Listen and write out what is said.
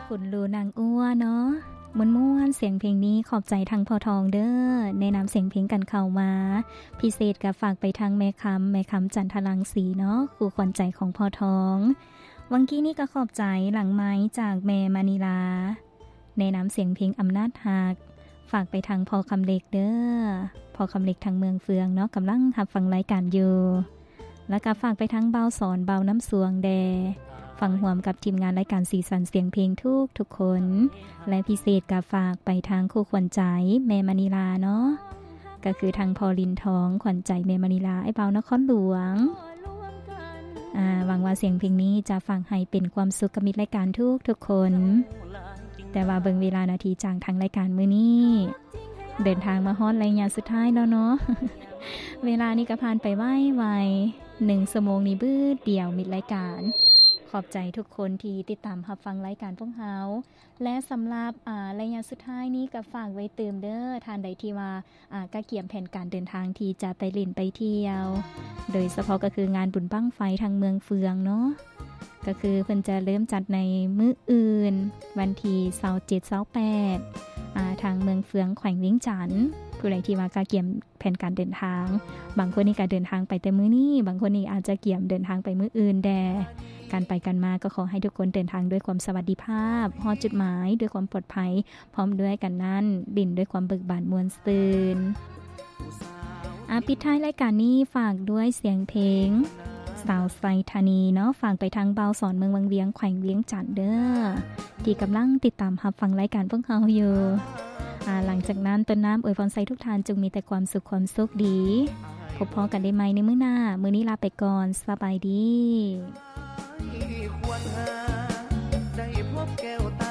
ຂຸນລູນາງອົວເນາະ ມ່ວນໆ ສຽງເພງນີ້ ຂອບໃຈທາງພໍ່ທອງເດີ້ ແນະນຳສຽງເພງກັນເຂົ້າມາ. ພິເສດກໍຝາກໄປທາງແມ່ຄຳ ແມ່ຄຳຈັນທະລັງສີເນາະ ຄູ່ຂວັນໃຈຂອງພໍ່ທອງ. ຫວ່າງກີ້ນີ້ກໍຂອບໃຈຫຼັງໄມຈາກແມ່ມະນີລາ ແນະນຳສຽງເພງອຳນາດຮັກ ຝາກໄປທາງພໍ່ຄຳເລັກເດີ້ ພໍ່ຄຳເລັກທາງເມືອງເຟືອງເນາະ ກຳລັງຮັບຟັງລາຍການຢູ່. ແລ້ວກໍຝາກໄປທາງບ່າວສອນ ບ່າວນ້ຳສວງແດ່ ຟັງຮ່ວມກັບທີມງານລາຍການສີສັນສຽງເພງທຸກໆຄົນ ແລະ ພິເສດກໍຝາກໄປທາງຄູ່ຂວັນໃຈແມ່ມະນີລາເນາະ ກໍຄືທາງພໍ່ລິນທອງ ຂວັນໃຈແມ່ມະນີລາ ອ້າຍບ່າວນະຄອນຫຼວງ. ອາ ຫວັງວ່າສຽງເພງນີ້ຈະຝາກໃຫ້ເປັນຄວາມສຸກກັບມິດລາຍການທຸກໆຄົນ. ແຕ່ວ່າເບິ່ງເວລານາທີຈາກທາງລາຍການມື້ນີ້ ເດີນທາງມາຮອດໄລຍະສຸດທ້າຍແລ້ວເນາະ ເວລານີ້ກໍຜ່ານໄປໄວໆ ໜຶ່ງຊົ່ວໂມງນີ້ບຶດດຽວມິດລາຍການ. ຂອບໃຈທຸກຄົນທີ່ຕິດຕາມຮັບຟັງລາຍການພວກເຮົາ ແລະ ສຳລັບ ອາ ໄລຍະສຸດທ້າຍນີ້ກໍຝາກໄວ້ຕື່ມເດີ້ ທ່ານໃດທີ່ວ່າ ອາ ກະກຽມແຜນການເດີນທາງທີ່ຈະໄປຫຼິ້ນໄປທ່ຽວ ໂດຍສະເພາະກໍຄືງານບຸນບັ້ງໄຟທາງເມືອງເຟືອງເນາະ ກໍຄືເພິ່ນຈະເລີ່ມຈັດໃນມື້ອື່ນ ວັນທີຊາວເຈັດ ຊາວແປດ ອາ ທາງເມືອງເຟືອງ ແຂວງວຽງຈັນ. ຜູ້ໃດທີ່ວ່າກະກຽມແຜນການເດີນທາງ ບາງຄົນນີ້ກະເດີນທາງໄປແຕ່ມື້ນີ້ ບາງຄົນນີ້ອາດຈະກຽມເດີນທາງໄປມື້ອື່ນແດ່. ການໄປການມາກໍຂໍໃຫ້ທຸກຄົນເດີນທາງດ້ວຍຄວາມສະຫວັດດີພາບ ຮອດຈຸດໝາຍດ້ວຍຄວາມປອດໄພ ພ້ອມດ້ວຍກັນນັ້ນ ຫຼິ້ນດ້ວຍຄວາມເບີກບານມ່ວນຊື່ນ. ອາ ປິດທ້າຍລາຍການນີ້ ຝາກດ້ວຍສຽງເພງສາວໄຊທານີເນາະ ຝາກໄປທາງບ່າວສອນເມືອງວັງວຽງ ແຂວງວຽງຈັນເດີ້ ທີ່ກຳລັງຕິດຕາມຮັບຟັງລາຍການພວກເຮົາຢູ່. ອາ ຫຼັງຈາກນັ້ນ ຕົ້ນນ້ຳອວຍພອນໃສ່ທຸກທ່ານຈົ່ງມີແຕ່ຄວາມສຸກຄວາມໂຊກດີ. ພົບພໍ້ກັນໄດ້ໃໝ່ໃນມື້ໜ້າ. ມື້ນີ້ລາໄປກ່ອນ. ສະບາຍດີ. ຄວນຫາໄດ້ພົບແກ້ວຕ